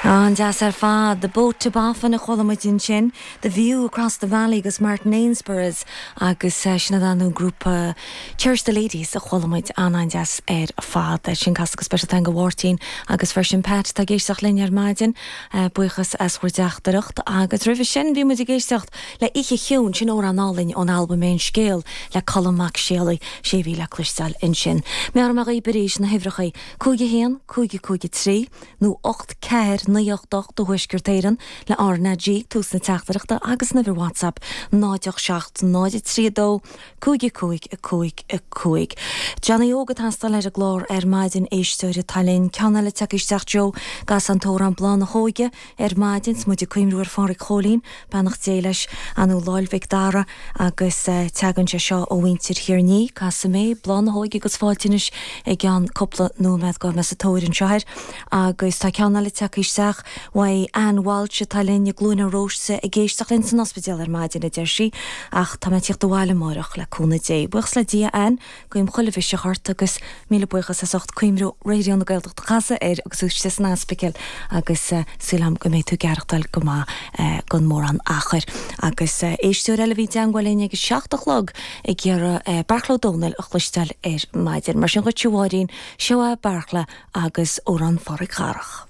An-deas ar fad. The Boat to Boffin a chuala muid ansin, The View Across the Valley agus Martin Ainsborough's agus sin iad an grúpa Cherish the Ladies a chuala muid. An-an-deas ar fad. Sin casta go speisialta againn do Mháirtín agus freisin Pat atá ag éisteacht linn ar maidin. Buíochas as bhur dteachtaireacht. Agus roimhe sin bhí muid ag éisteacht le Oíche Chiúin, sin amhrán álainn ón albam Aon Scéal le Colm Mac Séalaigh, sé a bhí le cloisteáil ansin. Meabhróidh mé dhaoibh arís na huimhreacha, 5 1 5 5 3 nó 8 4 9 8 8 do Thuaisceart Éireann le RnaG, tús na teachtaireachta agus an uimhir WhatsApp 0 8 7 0 3 2 5 5 5 5. Johnny Óg ag teastáil ar an gclár ar maidin, éisteoir atá linn. Ceann eile tagtha isteach Joe, an gcasfá an t-amhrán Bláth na hÓige ar maidin 's muid ag cuimhniú ar Pháraic Chóilín, beannacht Dé leis, nó Láil Mhic Dara agus teagann sé seo ó mhuintir Thír an Fhia. Casfaidh mé Bláth na hÓige agus fáilte anois i gceann cúpla nóiméad gabhfaidh mé sa tóir anseo air. Agus tá ceann eile tagtha isteach uaidh Ann Walsh atá linn i gCluain an Róiste ag éisteacht linn san ospidéal ar maidin, a deir sí, ach tá mé ag tíocht abhaile amáireach le cúnamh Dé. Buíochas le Dia, Ann, guím chuile mhiseach ort agus míle buíochas as ucht cuimhniú Raidió na Gaeltachta a chasadh air agus tú istigh san ospidéal agus súil agam go mbeidh tú ag aireachtáil go maith gan mórán achair. Agus éisteoir eile a bhí i dteangmháil linn ag a 7 a chlog ag iarraidh Beartla Ó Domhnaill a chloisteáil ar maidin. Mar sin dhuit a Mháirín, seo é Beartla agus Amhrán Pháraic Dharach.